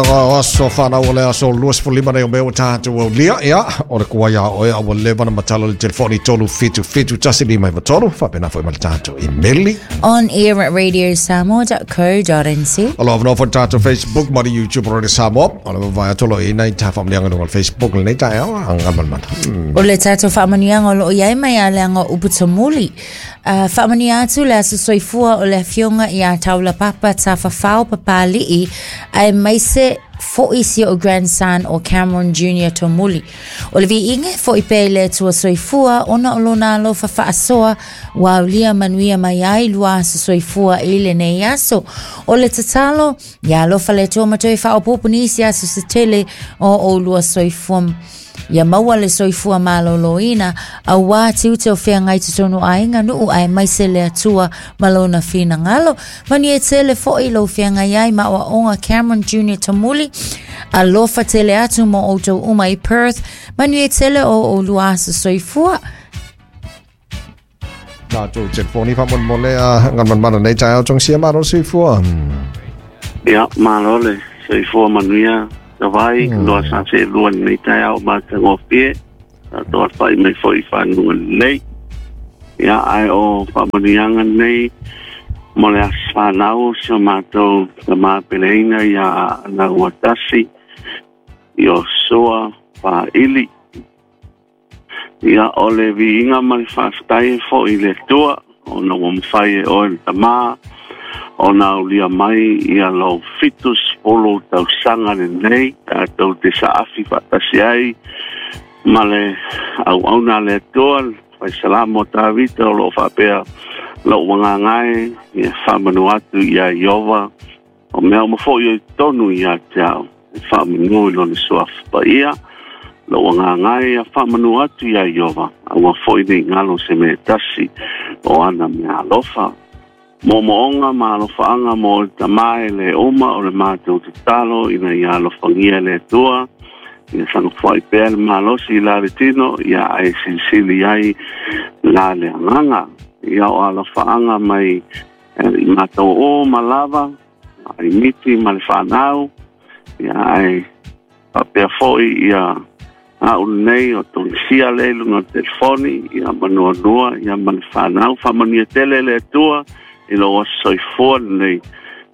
O aso whanau o le aso 25 nei o mea ua tātou aulia. Ia, o le kua ia oe a ua leva na matala le telefoni 3 7 7 1 5 9 3. Whapena foi ma le tātou imeli. On air at radiosamoa.co.nz. O lo awanoa foi tātou Facebook ma le YouTube o Radio Samoa. O le mawai atolo i nei tā whaamanianga nunga le Facebook le nei tā eo, anga manamana. O le tātou whaamanianga o loo iai mai a leanga o upu tamuli. Faamanuia atu le aso soifua o le afioga iā Taulapapa Tafafao Papali'i aemaise fo'i si o'u grandson o Cameron Junior Tomuli. O le viiga e fo'i pea i le Atua Soifua ona o lona alofa faasoa ua aulia manuia mai ai lua aso soifua i lenei aso. O le tatalo, ia alofa le Atua ma toe faaopoopo nisi aso se tele o ʻoulua soifua. Ia maua le soifua malōlōina, auā tiute o feagai totonu aiga nuu aemaise le Atua ma lona finagalo. Manuia tele foʻi lou feagai ai ma aoaoga Cameron Junior Tamuli. Alofa tele atu mo outou uma i Perth. Manuia tele o ʻolua aso soifua. Tātou telefoni whamolemole a ngā nei taeao tong sia malo soifua. Ia, malo le soifua manuia tavai, loa sa se lua nei taeao matagofie, tātou alafai mai foi i faguga lelei. Ia, ae o faamanuiaga nei mo le aso fanau o si o matou tamā peleina iā Aana Uatasi, Iosua Faili. Ia, o le viiga ma le faafetai e foʻi i le Atua ona ua mafai e oe le tamā ona aulia mai ia lou 70 tausaga lenei tatou te saafi faatasi ai ma le auauna a le Atua le faisalamo a Tavita o loo faapea lou agaga e ia faamanu atu iā Ieova o mea uma foʻi o i totonu iā te ao e faamanu i lona suafa paia. Lou agaga e ia faamanu atu iā Ieova, aua foʻi nei galo se mea e tasi o ana meaalofa. Moomooga ma alofaaga mo le tamā e lē uma o le matou tatalo ina ia alofagia e le Atua ia sagofoaʻi pea le malosi i la le tino ia ae silisili ai la le agaga. Ia o alofaaga mai i matou o ma lava ai miti ma le fanau ia ae faapea foʻi ia a'u lenei o Togisia le i luga o le telefoni ia manuanua ia ma le fanau. Faamanuia tele le Atua i lou aso soifua lenei.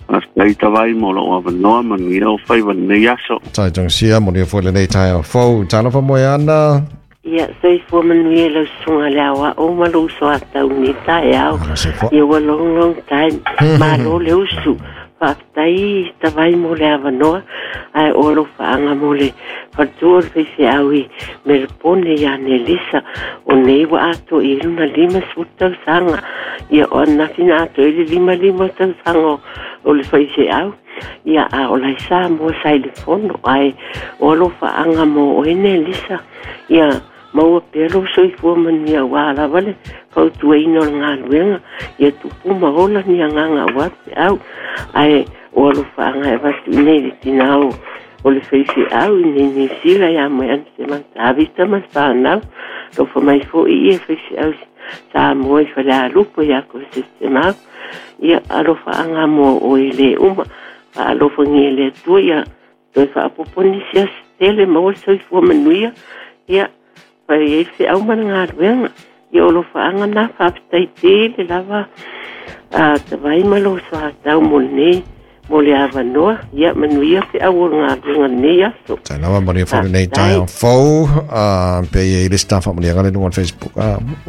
Faafetai Tavai mo lou avanoa, manuia ou faiva lenei aso. Tai Togisia, manuia foi lenei taeao fou. Talofa Moeana. Ia, soifua manuia i lau susuga le aoao ma lou uso a tau i lenei taeao. Malo soifua. Ia ua long long time. Malo le usu. Faafetai Tavai mo le avanoa, ae o alofaaga mo le faletua o le faifeau i Melbourne ia Nelisa. O nei ua atoa i ai lona 50 tausaga. Ia o ananafi na atoa ai le 55 tausaga o le faifeau. Ia a o la e Samoa sa i le fono, ae o alofaaga mo oe Nelisa. Ia maua pea lou soifua manuia aua lava le fautuaina o le galuega, ia tupu ma ola ni agaga aua le feau. Ae o alofaaga e avatu i nei le tinā o o le faifeau i nei Niu Sila ia Moeana Sematavita ma le fanau. Alofa mai foi ia faifeau Samoa i Falealupo ia Kosese Semau. Ia alofaaga mo oe le uma. Faalofagia e le Atua ia toe faaopoopo nisi aso tele maua le soifua manuia, ia, fai ai le feau ma le galuega. Ia o alofaaga na, faafetai tele lava a Tavai ma lou soatau mo lenei, mo le avanoa. Ia, manuia feau o le galuega i lenei aso. Tai lava, manuia foi lenei Faafetai. taeao fou. Pe i ai le isi faamanuiaga le luga o le Facebook.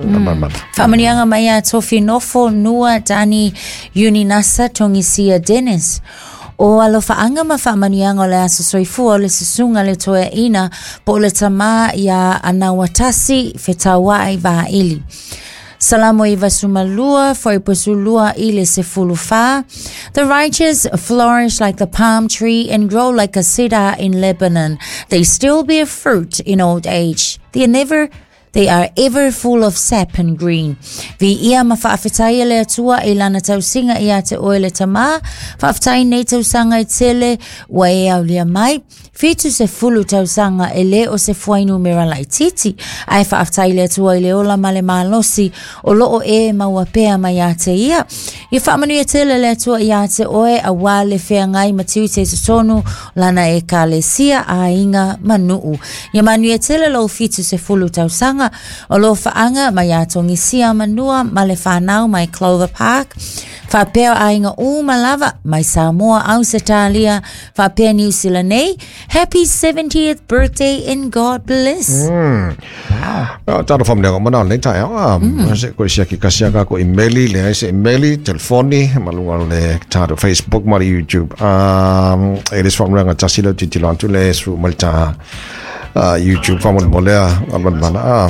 Mana. Faamanuiaga mai ia Tofi Nofo, Nua, Dani, Uninasa, Togisia, Dennis. O alofaaga ma faamanuiaga o le aso soifua o le susuga le toeaina po o le tamā iā Anauatasi Fetauaʻi Vaili. Salamo 92, fuaiupu 12 i le 14. The righteous flourish like the palm tree and grow like a cedar in Lebanon. They still bear fruit in old age. They never They are ever full of sap and green. Viia ma faafetaia le Atua i lana tausiga iā te oe le Tamā, faafetai nei tausaga e tele ua e aulia mai. 70 tausaga e le o se fuainumera laitiiti, ae faafetai le Atua i le ola ma le malosi o lo o e maua pea mai iā te ia. Ia faamanuia tele le Atua iā te oe auā le feagai ma tiute i totonu lana Ekalesia, aiga ma nuu. Ia manuia tele lou 70 tausaga o lo faaga mai iā Togisia Manua ma le whanau mai Clover Park, faapea aiga uma lava mai Samoa, Ausetalia, faapea Niu Sila nei. Happy 70th birthday and God bless. Wow. Talo whamleanga mana o lenei taeao. Se koe siaki kasi a kako imeli, le ai se imeli, telefoni, ma lunga o le tātou Facebook ma le YouTube. E le whamleanga tasi leo titilo atu le su ma le tā YouTube whamole molea, almanmana.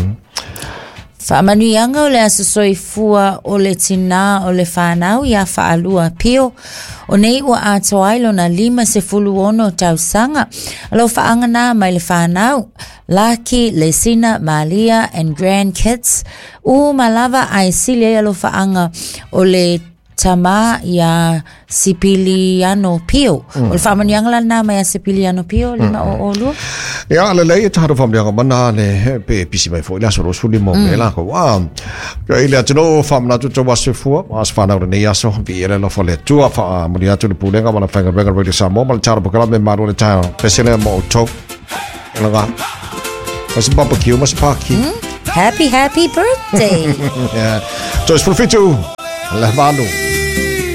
Faamanuiaga o le aso soifua o le tinā o le whanau iā Faalua Pio. O nei ua atoa ai lona 56 tausaga. Alo faaga na mai le whanau, Laki, Lesina, Malia and grandkids. Uma lava ae sili ai alofaaga o le tamā iā Sipiliano Pio. O le faamanuiaga la lenā mai a Sipiliano Pio, 502. Ia, lelei e tātou whamleanga mana le pe pisi mai foi le aso 25 o me lākou. Ka i le atunuu whaamanatu tau aso fua, aso whanau lenei aso, vi e le alofa le Atua, whaamuni atu le pulega ma le whainga Radio Samoa ma le tātou pokalame malo le taeao. Pesele mo outou. Laga. Ma se barbecue, ma se paki. Happy, happy birthday. Yeah. Toes 17, le valu.